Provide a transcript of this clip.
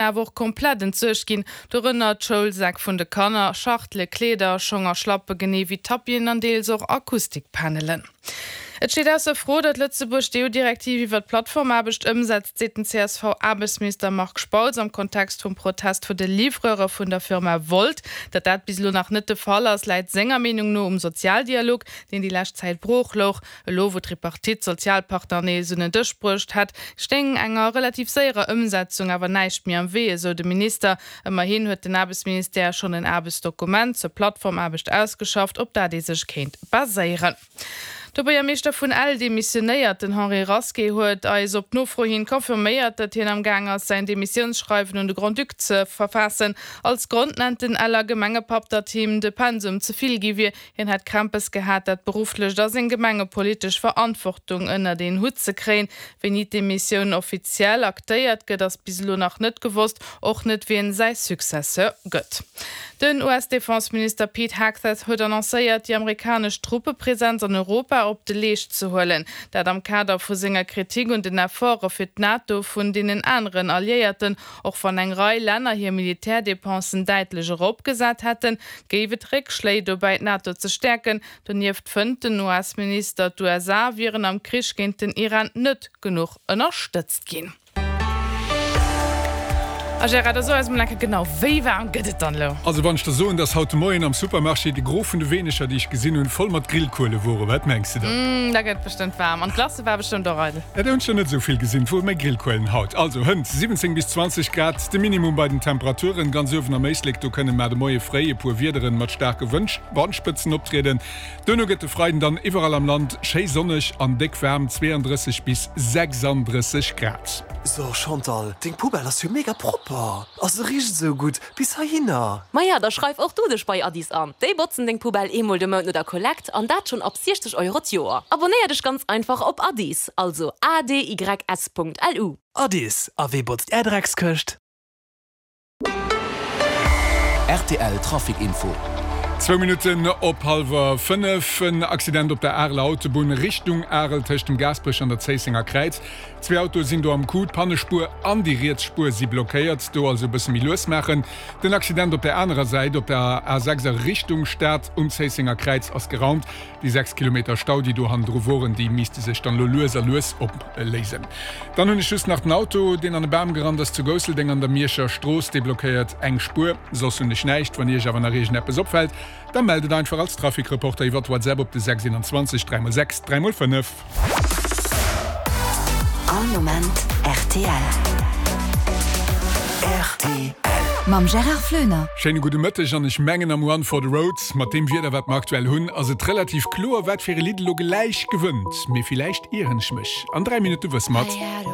Awer och komplett entsuergt ginn, dorënner d'Schoulsäck vun de Kanner, Schachtele, Kleeder, Schong a Schlappe genee wéi Tapien an deels och Akustikpanelen. Et steet ausser Fro, datt Lëtzebuerg d'EU-Direktiv iwwer d'Plattformaarbecht ëmsetzt, seet den CSV-Aarbechtsminister Marc Spautz am Kontext vum Protest vu de Livreure vun der Firma Wolt. Datt dat bis elo nach net de Fall ass, läit senger Meenung no um Sozialdialog, deen déi lescht Zäit brooch louch. Elo wou d'Tripartite d'Sozialpartner nees un en Dësch bruecht hätt, stéing enger relativ séierer Ëmsetzung awer näischt méi am Wee, esou de Minister. Ëmmerhin huet den Aarbechtsministère schonn en Aarbechtsdokument zur Plattformaarbecht ausgeschafft, op dat ee sech kéint baséieren. De Buergermeeschter vun Ell demissionéiert. Den Henri Rasqué huet eis op Nofro hin confirméiert, datt hien am Gaang ass, säin Demissiounsschreiwen un de Grand-Duc ze verfaassen. Als Grond nennt den Eller Gemengepapp, datt him de Pensum ze vill gi wier. Hien hätt Krämpes gehat, dat berufflecht a seng gemengepolitesch Verantwortung ënnert een Hutt ze kréien. Wéini d'Demissioun offiziell aktéiert gëtt, ass bis elo nach net gewosst, och net wien säi Successeur gëtt. Den US-Defenseminister Pete Hegseth huet annoncéiert, déi amerikanesch Truppepresenz an Europa op de Leescht ze huelen. Dat am Kader vu senger Kritik un den Efforte fir d'NATO vun deenen aneren Alliéierten. Och wann eng Rei Länner hir Militärdepensen däitlech eropgesat hätten, géif et Réckschléi dobäi d'NATO ze stäerken. Donieft fënnt den US-Minister, d'USA wieren am Krich géint den Iran net genuch ënnerstëtzt ginn. A Gérard, da so eis mol eng Kéier genau, wéi waarm gëtt et dann elo? Also wann ech der soen, dass haut de Moien am Supermarché de Gros vun de Weenecher, déi ech gesinn hunn, voll mat Grillkuele woren, wat mengs de dann? Da gëtt et bestëmmt waarm. An d'Glace war bestëmmt och eidel. Dat hunn ech der net esou vill gesinn, et wore méi Grillkuelen haut. Also hënt 17 bis 20 Grad de Minimum bei den Temperaturen. Ganz uewen am Éislek, do kënnen mar de Moie fréi e puer Wiederen mat staarke Wandspëtzen optrieden. Duerno gëtt de Freiden dann iwwerall am Land schéi sonneg an déck waarm, 32 bis 36 Grad. So Chantal, deng Poubelle ass jo mega propper a se richt esou gutt bis heihinner. Maja, da schreif och du dech bei Adys an. Déi botzen deng Poubelle eemol de Mount no der Kollekt an dat schonn ab 60 Euro d'Joer. Abonnéier dech ganz einfach op Adys, also adys.lu. Adys, a wee botzt är Dreckskëscht? Rtl Trafic Info. Zwou Minutten op hallwer 5, En Accident op der Areler Autobunn Richtung Arel tëscht dem Gaasperech an der Zéissenger Kräiz. Zwee Autoe sinn do am Coup, d'Pannespuer an déi riets Spuer si blockéiert. Do also e bësse méi lues maachen. Den Accident op der anerer Säit op der A6 a Richtung Stad um Zéissenger Kräiz ass geraumt. Déi 6 Kilometer Stau, déi do hannendru woren, déi misste sech dann elo lues a lues opléisen. Dann hunn ech just nach den Auto, deen an e Bam gerannt ass zu Gousseldeng an der Mierscher Strooss. Dee blockéiert eng Spuer. Soss hunn ech näischt. Wann Iech awer nach iergendeppes opfält, da mellt et einfach als Trafikreporter iwwert WhatsApp op de 621 3x6 3x5. All Moment rtl. Rtl. Mam Gérard Floener. Schéine gudde Mëtteg an ech mengen am One for the Road, mat deem Wieder wat mer aktuell hunn, ass et relativ kloer wat fir e Lidd elo gläich gewënnt. Mee villäicht ieren ech mech. An 3 Minutte wësse mer et.